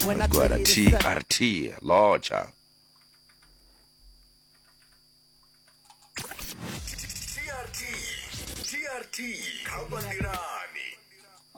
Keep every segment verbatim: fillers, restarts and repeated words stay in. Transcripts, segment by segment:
When I Gwada tell you the sun. T R T Locha. T R T T R T kha vhanḓilani.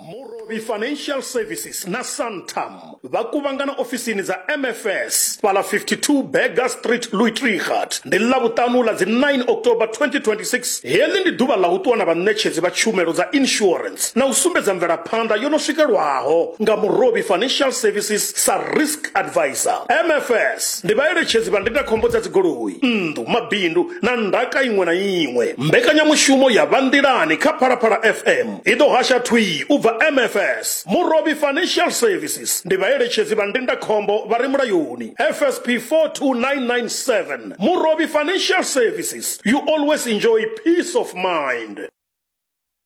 Murovhi Financial Services na Santam vha kuvhangana ofisini dza M F S fhala fifty-two Berger Street, Louis Trichardt. Ndi Ḽavhuṱanu ḽa dzi nine October twenty twenty-six. Heḽi ndi ḓuvha ḽa u ṱuwa na vhaṋetshedzi vha tshumelo dza insurance na u sumbedza mvelaphanḓa yo no swikelwaho nga Murovhi Financial Services sa risk advisor. M F S ndi vhaeletshedzi vha ndindakhombo dza dzigoloi, nnḓu, mabindu na ndaka iṅwe na iṅwe. Mbekanyamushumo ya Vhanḓilani kha Phalaphala F M i ḓo hasha thwii u bva M F S. Murovhi Financial Services ndi vhaeletshedzi vha ndindakhombo vha re mulayoni. F S P four two nine nine seven. Murovhi Financial Services, you always enjoy peace of mind.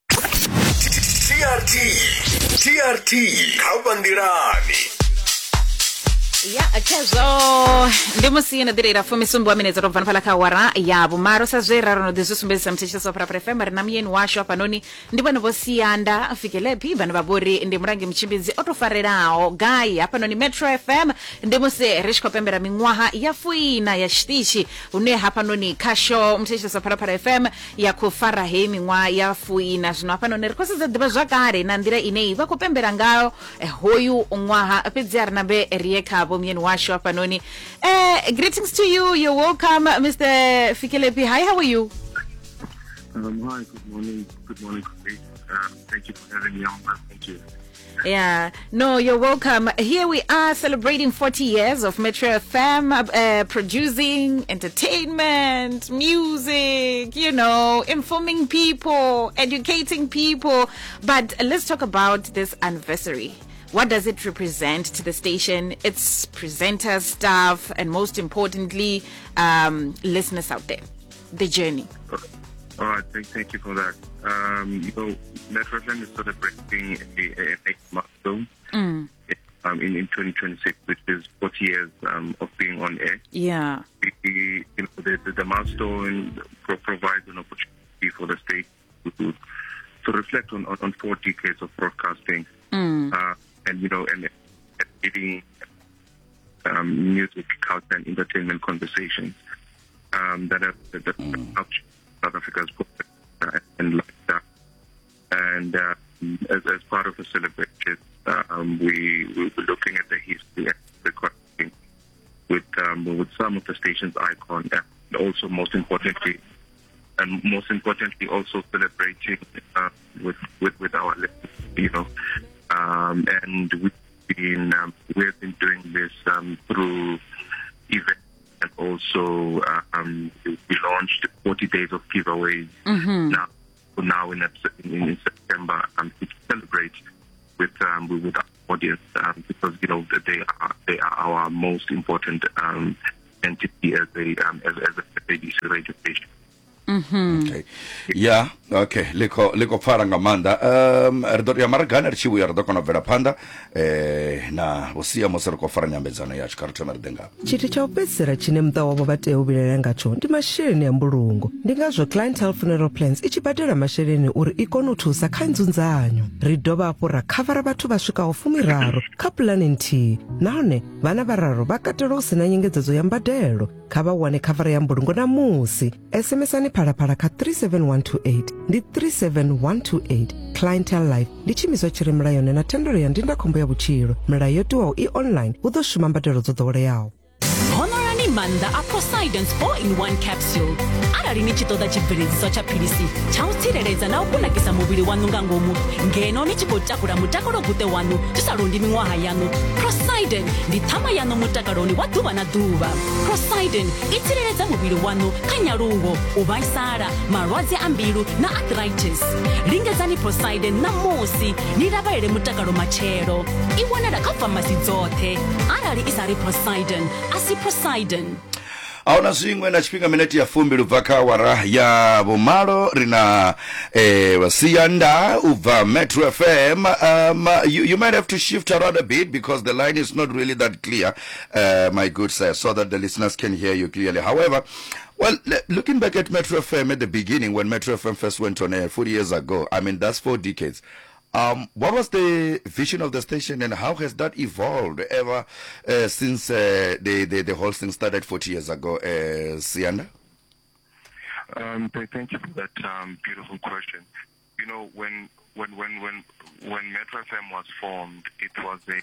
T R T T R T kha vhanḓilani. Ya khezwo ndi musi na ḓireila fumisumbi wa minetse ro bva fhala kha awara ya vhumalo sa zwe ra ro no ḓi zwi sumbedzisa muthetshelesi wa Phalaphala F M. Ri na muyeni washu hafhanoni ndi vhone vho Siyanda Fikelephi vhane vha vhori ndi mulangi mutshimbidzi o to farelaho gai hafhanoni Metro F M. Ndi musi ri tshi khou pembela miṅwaha ya fuina ya tshiṱitshi hune hafhanoni khasho muthetshelesi wa Phalaphala F M ya khou fara heyi miṅwaha ya fuina. Zwino hafhanoni ri khou sedza ḓivha zwakale na nḓila ine vha khou pembela ngayo hoyu ṅwaha, fhedzi a ri nambe ri ye khavho muyeni washu hafhanoni. Eh, greetings to you. You're welcome, Mister Fikelephi. Hi, how are you? Um, hi, good morning. Good morning, colleagues. Um, thank you for having me on. Thank you. Yeah, no, you're welcome. Here we are celebrating forty years of Metro F M, uh, producing entertainment, music, you know, informing people, educating people. But let's talk about this anniversary. What does it represent to the station, its presenters, staff, and most importantly, um, listeners out there? The journey. All right, thank, thank you for that. Um, you know, Metro F M is celebrating a, a, a milestone mm. um, in, in twenty twenty-six, which is forty years um, of being on air. Yeah. We, you know, the, the, the milestone pro- provides an opportunity for the state to, to reflect on, on, on four decades of broadcasting. Mm. Uh, and, you know, and leading um, music, culture, and entertainment conversations um, that have that, that mm. helped South Africa's and lifestyle. And uh, as, as part of the celebration, um, we, we were looking at the history and recording with, um, with some of the station's icon, and also most importantly, and most importantly, also celebrating uh, with, with, with our listeners, you know. Um, and we've been um, we've been doing this um, through events, and also um, we launched forty days of giveaways mm-hmm. now. Now in, in, in September, um, to celebrate with um, with our audience, um, because you know they are they are our most important um, entity as a um, as, as a S A B C radio station. Mm-hmm. Okay. Yeah, okay. Liko liko pfala nga maanḓa. Um ri ḓo ya maragana ri tshi vhuya ri ḓo kona u bvela phanḓa eh na vhusia musi ri khou fara nyambedzano yashu kha ri thome ri ḓe nga. Tshithu tsha u fhedzisela tshine muṱa wavho vha tea u vhilaela ngatsho ndi masheleni a mbulungo. Ndi ngazwo Clientele Funeral Plans i tshi badela masheleni uri i kone u thusa kha nzunzanyo. Ri dovha hafhu ra khavara vhathu vha swikaho fumiraru kha pulane nthihi, nahone vhana vhararu vha katelwa hu sina nyengedzedzo ya mbadelo. Kha vha wane khavara ya mbulungo namusi. S M S Phalaphala kha three seven one two eight ndi three seven one two eight. Clientele Life ndi tshiimiswa tshi re mulayoni na thendelo ya ndindakhombo ya vhutshilo. Milayo yo tiwaho i online, hu ḓo shuma mbadelo dzo ḓoweleaho. Honorani maanḓa a Poseidon's four in one capsule. Arali ni tshi ṱoḓa tshibveledziswa tsha philisi tsha u tsireledza na u kunakisa muvhili waṋu nga ngomu, ngeno ni tshi khou takula mutakalo guṱe waṋu zwi sa londi miṅwaha yaṋu, Poseidon ndi ṱhama yaṋu mutakaloni wa ḓuvha na ḓuvha. Poseidon i tsireledza muvhili waṋu kha nyaluwo, u vhaisala, malwadze a mbilu na arthritis. Lingedzani Poseidon ṋamusi ni lavhelele mutakalo matshelo. I wanala kha famasi dzoṱhe. Arali i sa ri Poseidon, a si Poseidon. Ahuna zwiṅwe na tshifhinga minete ya fumbili ubva kha awara ya vhumalo ri na eh, Siyanda ubva Metro F M. Um, you, you might have to shift around a bit because the line is not really that clear, uh, my good sir, so that the listeners can hear you clearly. However, well, looking back at Metro F M at the beginning, when Metro F M first went on air forty years ago, I mean, that's four decades. Um, what was the vision of the station, and how has that evolved ever uh, since uh, the, the, the whole thing started forty years ago, uh, Siyanda? Um, thank you for that um, beautiful question. You know, when when when when when Metro F M was formed, it was a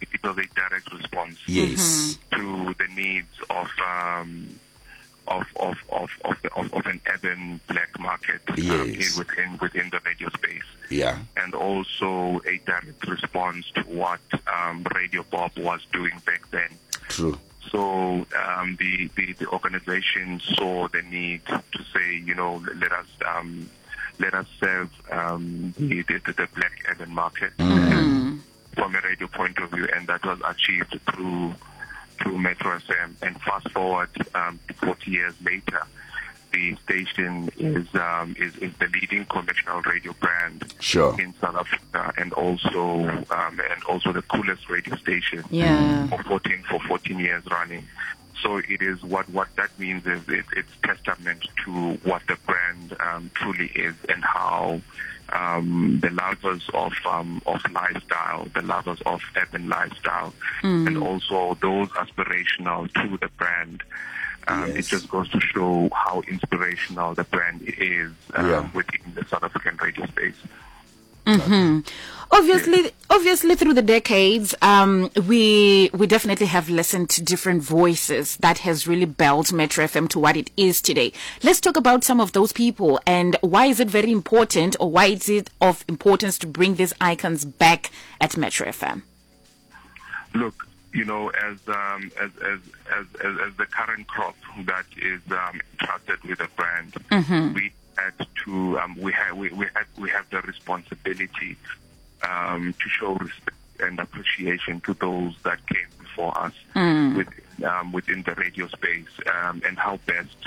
it was a direct response, yes, to the needs of um, of of of of, the, of of an urban black market, yes, um, within within the radio space, yeah, and also a direct response to what um, Radio Bob was doing back then. True. So um, the, the the organization saw the need to say, you know, let us um, let us serve um, the, the, the black urban market mm. from a radio point of view, and that was achieved through through Metro F M. And fast forward um, forty years later, the station is um, is, is the leading commercial radio brand, sure, in South Africa, and also um, and also the coolest radio station, yeah, for fourteen for fourteen years running. So it is what, what that means is it, it's testament to what the brand um, truly is, and how um, the lovers of um, of lifestyle, the lovers of urban lifestyle, mm. and also those aspirational to the brand. Um, yes. It just goes to show how inspirational the brand is um, yeah. within the South African radio space. Mm-hmm. Obviously, yes. obviously, through the decades, um, we we definitely have listened to different voices that has really built Metro F M to what it is today. Let's talk about some of those people and why is it very important, or why is it of importance to bring these icons back at Metro F M? Look, you know, as um, as, as as as as the current crop that is um, entrusted with the brand, mm-hmm. we had to um, we have we, we had we have the responsibility um, to show respect and appreciation to those that came before us mm. with, um, within the radio space, um, and how best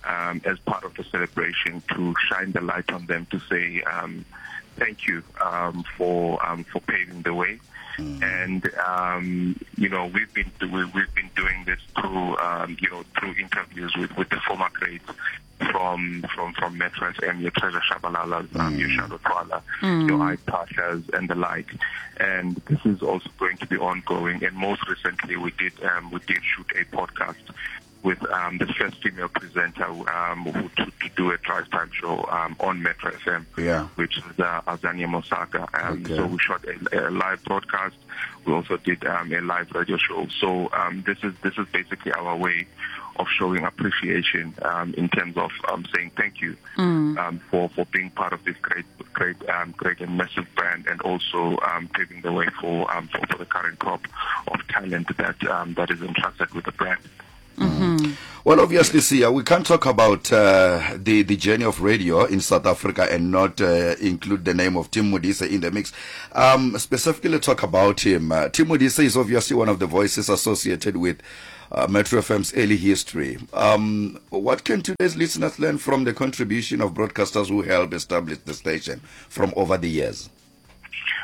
um, as part of the celebration to shine the light on them, to say um, thank you um, for um, for paving the way. Mm. And um, you know, we've been we, we've been doing this through um, you know through interviews with, with the former greats from from from Metro F M, your Treasure Shabalalas, mm. um, your Shadow Twala, mm. your Ike Pashas, and the like. And this is also going to be ongoing. And most recently, we did um, we did shoot a podcast with um, the first female presenter um, who to, to do a drive time show um, on Metro F M, yeah. which is uh, Azania Mosaka. Um, okay. So we shot a, a live broadcast. We also did um, a live radio show. So um, this is this is basically our way of showing appreciation um, in terms of um, saying thank you mm. um, for, for being part of this great great um, great and massive brand, and also um, paving the way for, um, for for the current crop of talent that um, that is entrusted with the brand. Mm-hmm. Well, obviously, Sia, we can't talk about uh, the, the journey of radio in South Africa and not uh, include the name of Tim Modise in the mix. Um, specifically talk about him. Uh, Tim Modise is obviously one of the voices associated with uh, Metro F M's early history. Um, what can today's listeners learn from the contribution of broadcasters who helped establish the station from over the years?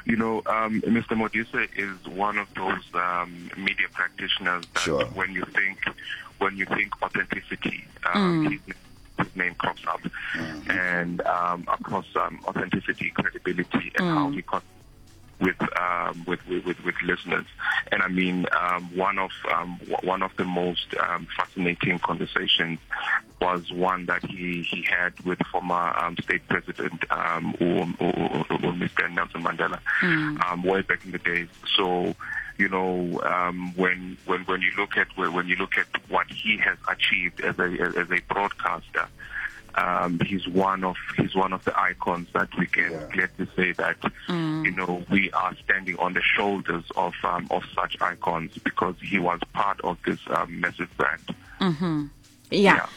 You know, um, Mister Modise is one of those um, media practitioners that sure. when you think when you think authenticity, um, mm. his, his name crops up, mm-hmm. and um, across um, authenticity, credibility, and mm. how he con- with, um, with with with with listeners. And I mean, um, one of um, w- one of the most um, fascinating conversations was one that he, he had with former um, state president um, or, or, or Mister Nelson Mandela, mm. um, way back in the days. So, you know, um, when when when you look at when you look at what he has achieved as a as a broadcaster, um, he's one of he's one of the icons that we can yeah. gladly say that mm. you know, we are standing on the shoulders of um, of such icons, because he was part of this um, massive brand. Mm-hmm. Yeah. yeah.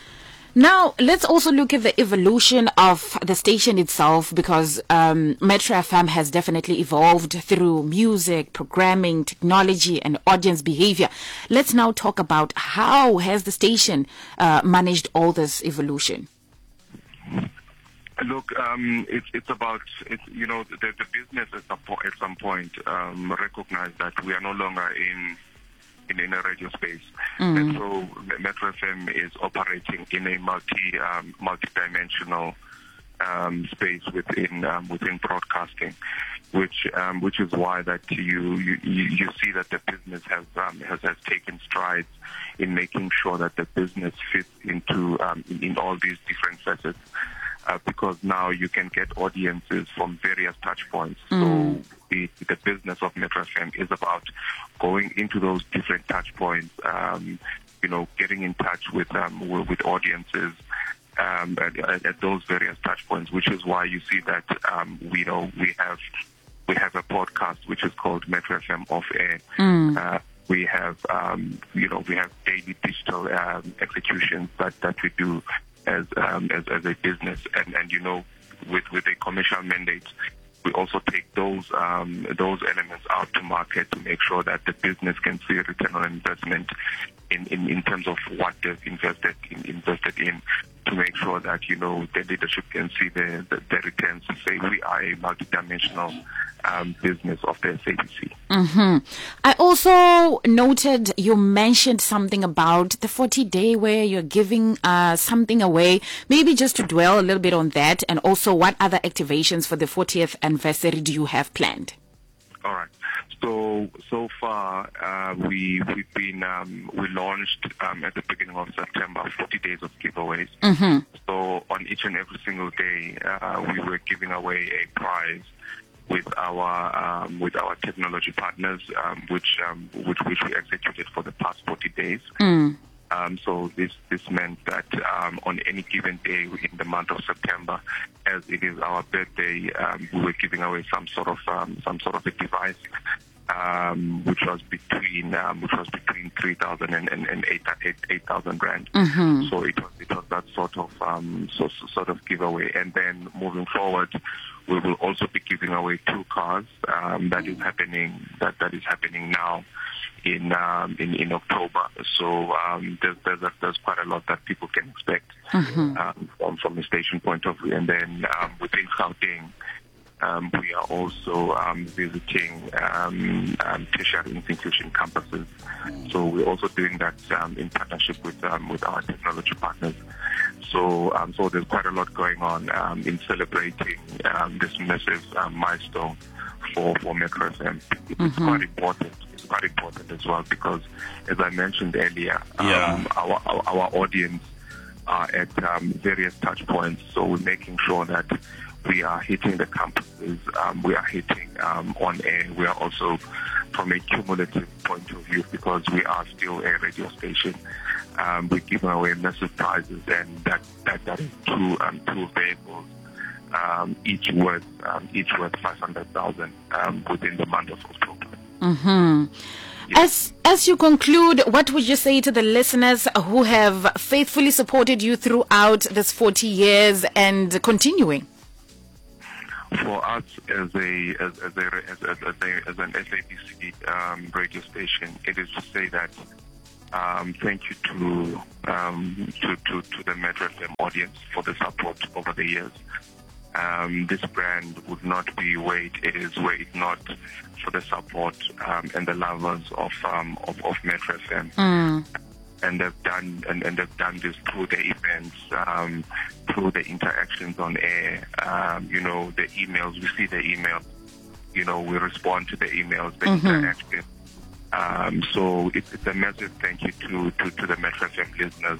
Now, let's also look at the evolution of the station itself, because um, Metro F M has definitely evolved through music, programming, technology, and audience behavior. Let's now talk about how has the station uh, managed all this evolution? Look, um, it's it's about, it's, you know, the, the business at some, po- at some point um, recognized that we are no longer in in, in a radio space. Mm. Metro, Metro F M is operating in a multi, um, multi-dimensional um, space within um, within broadcasting, which um, which is why that you, you, you see that the business has, um, has has taken strides in making sure that the business fits into um, in, in all these different facets, uh, because now you can get audiences from various touch points. Mm. So the, the business of Metro F M is about going into those different touch points, um, you know, getting in touch with um, with audiences. Um, at, at, at those various touch points, which is why you see that um, we know we have we have a podcast which is called Metro F M Off Air. Mm. Uh, we have um, you know we have daily digital um, executions that, that we do as, um, as as a business, and, and you know with, with a commercial mandate, we also take those um, those elements out to market to make sure that the business can see a return on investment in, in, in terms of what they've invested in, invested in, to make sure that, you know, the leadership can see the, the, the returns to say we are a multidimensional um, business of the S A B C. Mm-hmm. I also noted you mentioned something about the forty day where you're giving uh, something away. Maybe just to dwell a little bit on that, and also what other activations for the fortieth anniversary do you have planned? All right. So, so far, uh, we, we've been, um, we launched, um, at the beginning of September, forty days of giveaways. Mm-hmm. So on each and every single day, uh, we were giving away a prize with our, um, with our technology partners, um, which, um, which, which we executed for the past forty days. Mm. Um, so this, this meant that, um, on any given day in the month of September, as it is our birthday, um, we were giving away some sort of, um, some sort of a device, um, which was between, um, which was between three thousand and, and, and eight, eight, eight thousand rand. Mm-hmm. So it was, it was that sort of, um, so, so, sort of giveaway. And then moving forward, we will also be giving away two cars. Um, that is happening. That, that is happening now. In, um, in in October, so um, there's there's, a, there's quite a lot that people can expect mm-hmm. um, from, from a station point of view. And then um, within Gauteng, um, we are also um, visiting um, um, tertiary institution campuses. So we're also doing that um, in partnership with um, with our technology partners. So um, so there's quite a lot going on um, in celebrating um, this massive um, milestone for for Metro F M. It's mm-hmm. quite important. Quite important as well, because as I mentioned earlier, um, yeah. our, our our audience are at um, various touch points, so we're making sure that we are hitting the campuses, um, we are hitting um, on air. We are also, from a cumulative point of view, because we are still a radio station, um, we're giving away massive prizes, and that, that, that is two, um, two vehicles, um, each worth um, each worth five hundred thousand um, within the month of October. Mm-hmm. Yes. As as you conclude, what would you say to the listeners who have faithfully supported you throughout this forty years and continuing? For us as a as, as a as, as, as, a, as an S A B C um, radio station, it is to say that um, thank you to, um, to to to the Metro F M audience for the support over the years. Um, this brand would not be where it is were it not for the support um, and the lovers of um, of, of Metro F M. Mm. And they've done and, and they've done this through the events, um, through the interactions on air. Um, you know, the emails. We see the emails. You know, we respond to the emails, the mm-hmm. interaction. Um, so it's, it's a massive thank you to, to, to the Metro F M listeners.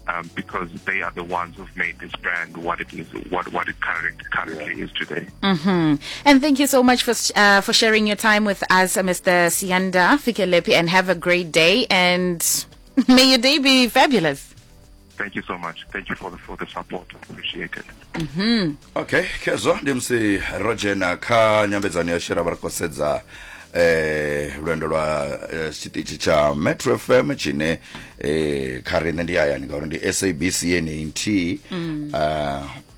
Um, because they are the ones who've made this brand what it is, what what it current, currently yeah. is today. Mm-hmm. And thank you so much for uh, for sharing your time with us, Mister Siyanda Fikelephi, and have a great day. And may your day be fabulous. Thank you so much. Thank you for the for the support. Appreciate it. Mm-hmm. Okay, khezwo ndi musi ro dzhena kha nyambedzano ya shera vha ri khou sedza eh lwendo lwa tshiṱitshi tsha Metro F M tshine eh kha riṋe ndi hayani ngauri ndi S A B C yeneyi nthihi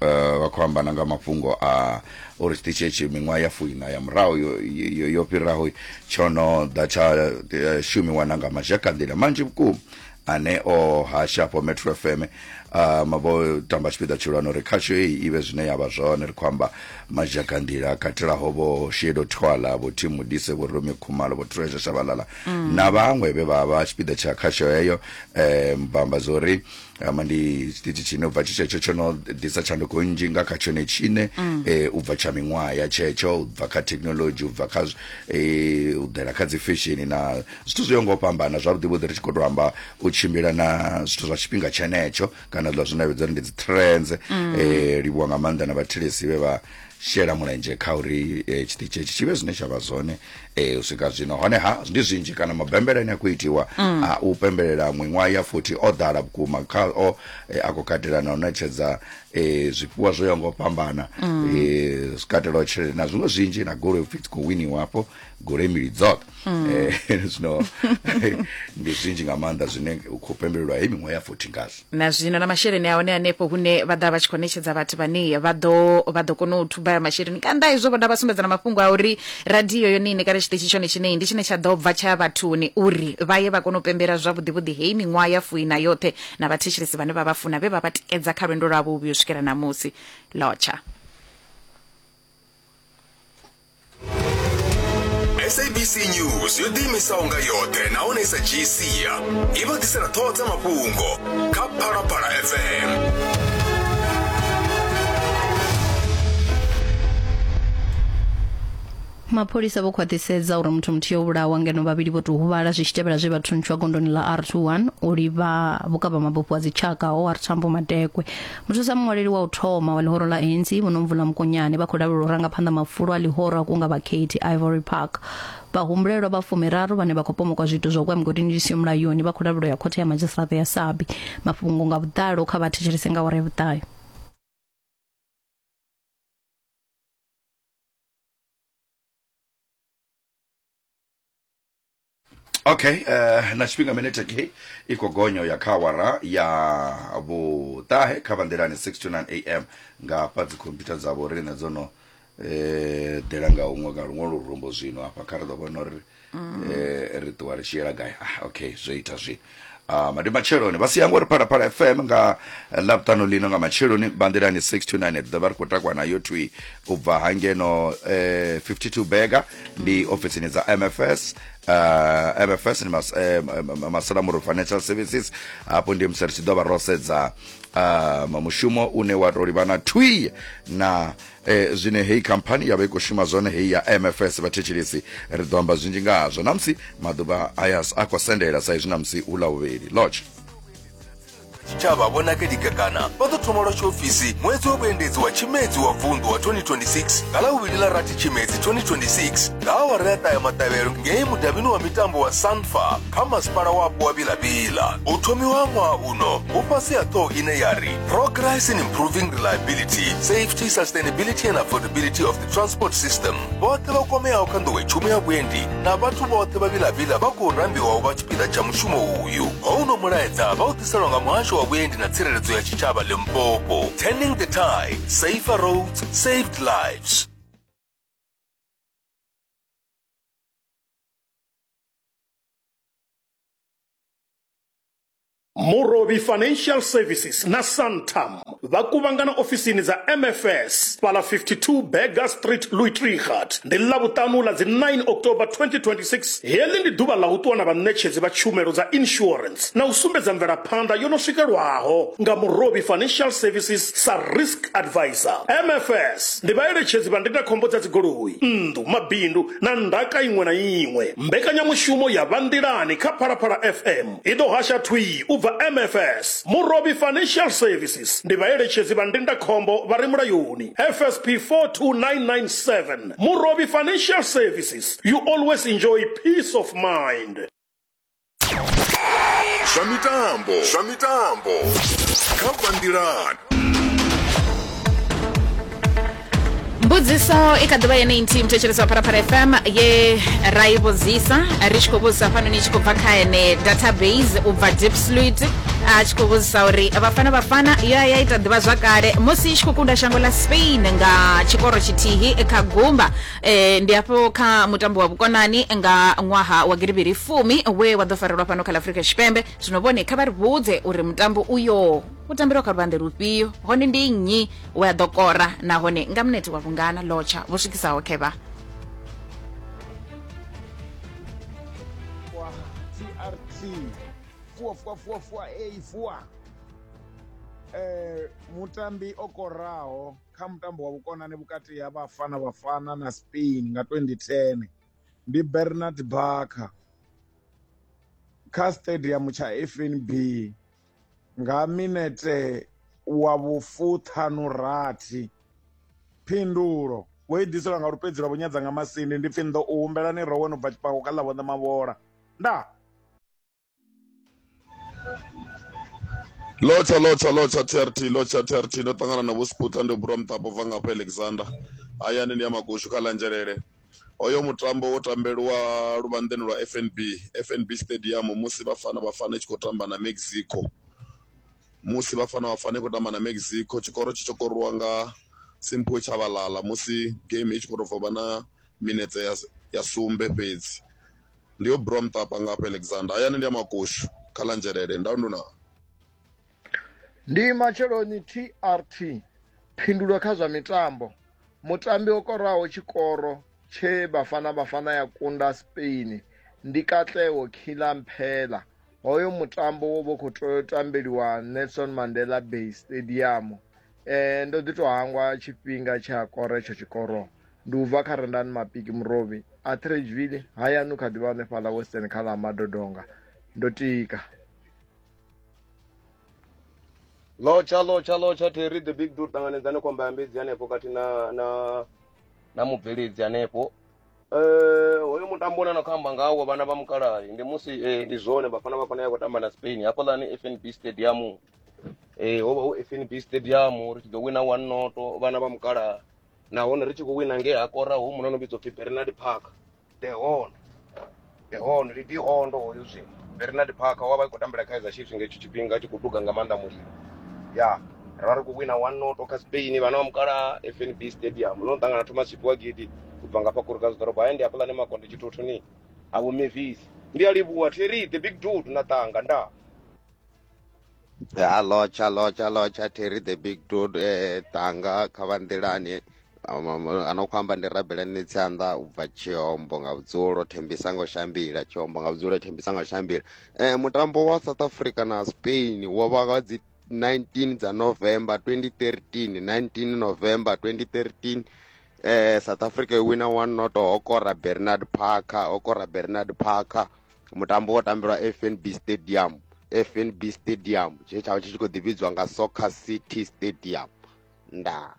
vha khou amba na nga mafhungo a uri tshiṱitshi hetshi miṅwaha ya fuiṋa ya murahu yo, yo, yo fhiraho tsho no ḓa tsha shumiwa na nga mazhakanḓila manzhi vhukuma ane o hasha afho Metro F M um vho tamba tshipiḓa tshihulwane uri khasho heyi i vhe zwine ya vha zwone. Ri khou amba mazhakanḓila katelaho vho Shedo Twala, vho Tim Modise, vho Romi Khumalo, vho Treasure Shabalala mm. na vhaṅwe vhe vha vha tshipiḓa tsha khasho heyo. Um vha amba zwo ri um ndi tshiṱitshi tshine u bva tshetsho tsho no ḓisa tshanduko nnzhi nga kha tshone tshine mm. eh, u bva tsha miṅwaha ya tshetsho, u bva kha thekhinoḽodzhi, u bva kha eh, u ḓela kha dzi fesheni na zwithu zwo ngo fhambana. Zwavhuḓi vhuḓi ri tshi khou tou amba u tshimbila na zwithu zwa tshifhinga tshenetsho kana zwa zwine vhidza uri ndi dzi trends. mm. eh, livhuwa nga maanḓa na vhathelesi vhe vha shela mulenzhe kha uri eh, tshiṱitshi etshi tshi vhe zwine tsha vha zwone eh, u swika zwino. Honeha ndi zwinzhi kana mabembele ane a khou itiwa mm. a u pembelela miṅwaha ya futhi o ḓala vhukuma kha o eh, a khou katela na u ṋetshedza eh, zwifhiwa zwo yaho nga u fhambana mm. eh, zwi katelaho tshelede na zwiṅwe zwinzhi na goloi upfhi dzi khou winiwa hafho goloi mbili dzoṱhe mm. eh, zwino ndi zwinzhi nga maanḓa zwine u khou pembelelwa heyi miṅwaha ya futhi ngazwo na zwino na masheleni a hone hanefho hune vha ḓa vha tshi khou ṋetshedza vhathu vhane vha ḓo vha ḓo kona u thuba masheleni. Kanda izwo vho vha sumbedza na mafhungo a uri radio yone ine kana tshiṱitshi tshone tshine ndi tshine tsha ḓo bva tsha vhathuni uri vha ye vha kone u pembela zwavhuḓi vhuḓi heyi miṅwaha ya fuina yoṱhe na vhathetshelesi vhane vha vha funa vhe vha vha tikedza kha lwendo lwavho u vhuya u swikela ṋamusi. Lotsha. S A B C News yo ḓiimisaho nga yoṱhe nahone i sa dzhii sia i vha ḓisela ṱhoho dza mafhungo kha Phalaphala F M. Mapholisa vho khwaṱhisedza uri muthu muthihi o vhulawa ngeno vhavhili vho tou huvhala zwi tshi tevhela zwe vha thuntshwa gondoni ḽa R twenty-one u livha vhukavha mabufho a dzitshaka O R Tambo Madekwe. Muthusa muṅwaleli wa u thoma wa ḽihoro ḽa A N C Vho Nomvula Mokonyane vha khou lavhelelwa u ranga phanḓa mafulo a ḽihoro a kunga vhakhethi Ivory Park. Vhahumbulelwa vha fumiraru vhane vha khou pomokwa zwiito zwa u kwa migodini zwi siho mulayoni vha khou lavhelelwa ya khothe ya madzhisiṱiraṱa ya Sabi. Mafhungo nga vhuḓalo kha vha thetshelese nga awara ya vhuṱahe. Okay, uh, na tshifhinga minete ke i khou gonya ya kha awara ya vhuṱahe kha bandelani six to nine A M nga hafha dzi computer dzavho riṋe dzo no eh ḓela nga huṅwe nga luṅwe lurumbo zwino hafha kha ri ḓo vhona uri mm. eh, ri ṱuwa ri tshi yela gai. Ah, okay, zwo ita zwino. Uh, madi matsheloni vha si yango uri Phalaphala F M nga ḽavhuṱanu lino nga matsheloni bandelani six to nine ḓo vha ri khou takwa nayo thwi u bva hangeno eh, fifty-two Bega ndi ofisini dza M F S. Uh, M F S ndi mas, eh, Masalamuru Financial Services. Hafho ndi musi ri tshi ḓo vha ro sedza uh, mushumo une wa tou livhana thwi na eh, zwine heyi khamphani ya vha i khou shuma zwone heyi ya M F S. Vhathetshelesi ri ḓo amba zwinzhi nga hazwo namusi maḓuvha aya a khou sendela sa izwi namusi hu ḽa vhuvhili. Lodge tshitshavha Vho Nakedi Kekana vha ḓo thoma lwa tshiofisi ṅwedzi wa vhuendedzi wa Tshimedzi wa vunḓu wa twenty twenty-six nga ḽa vhuvhili ḽa rathi Tshimedzi twenty twenty-six nga awara ya ṱahe maṱavhelo ngei mudavhini wa mitambo wa Sanfa kha masipala wapo wa Vilavila. U thomiwa ṅwaha uno hu fhasi ha ṱhoho ine ya ri Progress in Improving Reliability, Safety, Sustainability and Affordability of the Transport System. Vhoṱhe vha kwameaho kha nḓowetshumo ya vhuendi na vhathu vhoṱhe vha Vilavila vha khou rambiwa u vha tshipiḓa tsha mushumo uyu. Houno mulaedza vha u ḓiselwa nga muhasho wa vhuendi na tsireledzo ya tshitshavha Limpopo. Turning the tide, safer roads, saved lives. Murovhi Financial Services na Santam vha kuvhangana ofisini dza M F S fhala fifty-two Berger Street, Louis Trichardt. Ndi ḽavhuṱanu ḽa dzi nine October twenty twenty-six. Heḽi ndi ḓuvha ḽa u ṱuwa na vhaṋetshedzi vha tshumelo dza insurance na u sumbedza mvelaphanḓa yo no swikelwaho nga Murovhi Financial Services sa risk advisor. M F S ndi vhaeletshedzi vha ndindakhombo dza dzigoloi, nnḓu, mabindu na ndaka iṅwe na iṅwe. Mbekanyamushumo ya Vhanḓilani kha Phalaphala F M i ḓo hasha thwii u bva M F S. Murovhi Financial Services ndi vhaeletshedzi vha ndindakhombo vha re mulayoni. F S P four two nine nine seven. Murovhi Financial Services, you always enjoy peace of mind. Zwa mitambo, zwa mitambo kha Vhanḓilani. Mbudziso i kha ḓivha yeneyi nthihi muthetshelesi wa Phalaphala F M ye ra i vhudzisa ri tshi khou vhudzisa fhano ni tshi khou bva kha ene database u bva Diepsloot a tshi khou vhudzisa uri Bafana Bafana yo ya ita ḓivha zwakale musi i tshi khou kunda shango ḽa Spain nga tshikoro tshithihi kha gumba e, ndi afho kha mutambo wa vhukonani nga ṅwaha wa giribiri fumi we wa ḓo farelwa fhano kha ḽa Afrika Tshipembe. Zwino vhone kha vha ri vhudze uri mutambo uyo u tambelwa kha luvhanḓe lufhio, hone ndi nnyi we a ḓo kora nahone nga minete wa vhungana lotsha vho swikisaho khevha. T R T four four four four A four eh mutambi o koraho kha mutambo wa vhukonani vhukati ha Bafana Bafana na Spain nga twenty ten ndi Bernard Barker kha stadium tsha F N B nga minete wa vhufuṱhanu rathi. Phindulo vho i ḓiselwa nga lupedzi lwa vhunyadza nga Masindi. Ndi pfi ndo u humbelani rowe no bva tshipako kha ḽa vhoṋe Mavhola. Nda Lotsha lotsha lotsha T R T lotsha T R T ndo ṱangana na Vho Sputla ndo bura muṱapo bva ngafha Alexander hayani ndi ya Magoshu kha Lanzhelele. Hoyo mutambo wo tambelwa luvhanḓeni lwa F N B F N B Stadium musi Bafana Bafana i tshi khou tamba na Mexico. Musi Bafana Bafana i khou tamba na Mexico tshikoro tshi tshi korwa nga Simphiwe Tshabalala musi game i tshi khou tou bva na minetse ya, ya sumbe fhedzi. Ndi yo bura muṱapo ngafha Alexander hayani ndi ya Magoshu kha Lanzhelele. Ndau nduna. Ndi matsheloni T R T phindulo kha zwa mitambo. Mutambi o koraho tshikoro tshe Bafana Bafana ya kunda Spain ndi Katlego Khilamphela. Hoyo mutambo wo vho khou tea u tambeliwa Nelson Mandela Bay Stadium. Eh ndo ḓi to hangwa tshifhinga tsha kora itsho tshikoro. Ndi u bva kha Rendani Mapiki Murovhi a Tradeville hayani kha ḓivha hanefhaḽa Western kha ḽa Madodonga. Ndo tika. Lotsha lotsha lotsha Terry the big dude ṱanganedzane khomba ya mbedzi hanefho kati na na na mubveledzi hanefho. Eh hoyo mutambo une na khou amba ngawo vhana vha mukalahi ndi musi eh, ndi zwone Bafana Bafana ya khou tamba na Spain hafhaḽani F N B Stadium. Eh ho vha hu F N B Stadium ri tshi ḓo wina one noto vhana vha mukalaha, nahone ri tshi khou wina nge ha kora hu muno no vhidzwa pfi Bernard Parker. The Horn. The Horn ndi Dihondo hoyo zwino. Bernard Parker wa vha i khou tambela Kaizer Chiefs nga hetsho tshifhinga a tshi khou duga nga maanḓa mulilo. Ya, ra ri khou wina one noto kha Spain vhana vha mukala F N B Stadium. No ṱangana Thomas Tshifhiwa Gidi u bva ngafha Kruger ḓorobo haya ndi hafhaḽani Makonde Tshithuthuni ha Vho Mavis. Ndi a livhuwa Terry the big dude na ṱanga nda. Ya lotsha lotsha lotsha Terry the big dude eh, tanga kha vha nḓilani ano khou amba ndi Rabelani Tsianda u bva Tshiombo nga vhudzulo Thembisango Shambila Tshiombo nga vhudzulo Thembisango Shambila. Eh mutambo wa South Africa na Spain wo vha nga dzi nineteen dza November twenty thirteen, nineteen November twenty thirteen. Eh South Africa i wina one noto ho kora Bernard Parker, ho kora Bernard Parker. Mutambo wo tambelwa F N B Stadium, F N B Stadium tshe tsha tshi khou ḓivhidzwa nga Soccer City Stadium. Nda.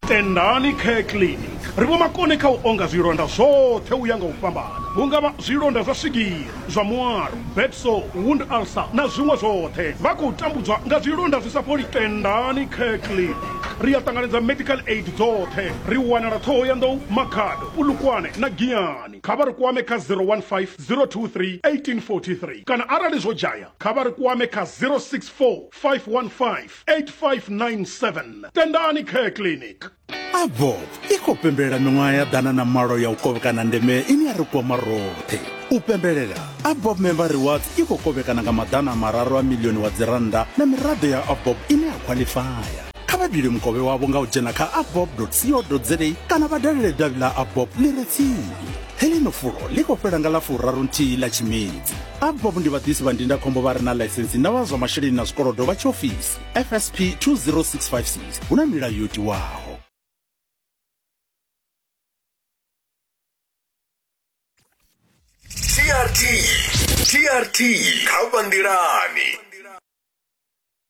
Tendani Care Clinic ri vho makone kha u onga zwilonda zwoṱhe u ya nga u fhambana, hu nga vha zwilonda zwa swigiri, zwa mualo, bedsore, wound ulcer na zwiṅwe zwoṱhe. Vha khou tambudzwa nga zwilonda zwi sa fholi. Tendani Care Clinic ri a ṱanganedza medical aid dzoṱhe. Ri wanala Ṱhohoyanḓou, Makhado, Polokwane na Giyani. Kha vha ri kwame kha zero one five zero two three eighteen forty three kana arali zwo dzhaya kha vha ri kwame kha zero six four five one five eight five nine seven. Tendani Care Clinic. Abob i khou pembelela miṅwaha ya ḓana na malo ya u kovhekana ndeme ine ya ri kwama roṱhe. U pembelela Abob Member Rewards i khou kovhekana nga maḓana mararu a milioni wa dzirannda na miraḓo ya Abob ine ya khwaḽifaya. Kha vha bile mukovhe wavho nga u dzhena kha abob dot co dot za kana vha dalele davhi ḽa Abob ḽi re tsini. Heḽino fulo ḽi khou fhela nga ḽa furaru nthihi ḽa Tshimedzi. Abob ndi vhaḓisi vha ndindakhombo vha re na ḽaisensi na vha zwa masheleni na zwikolodo vha tshiofisi F S P two zero six five six. Hu na milayo yo tiwaho. T R T T R T kha vha nḓilani.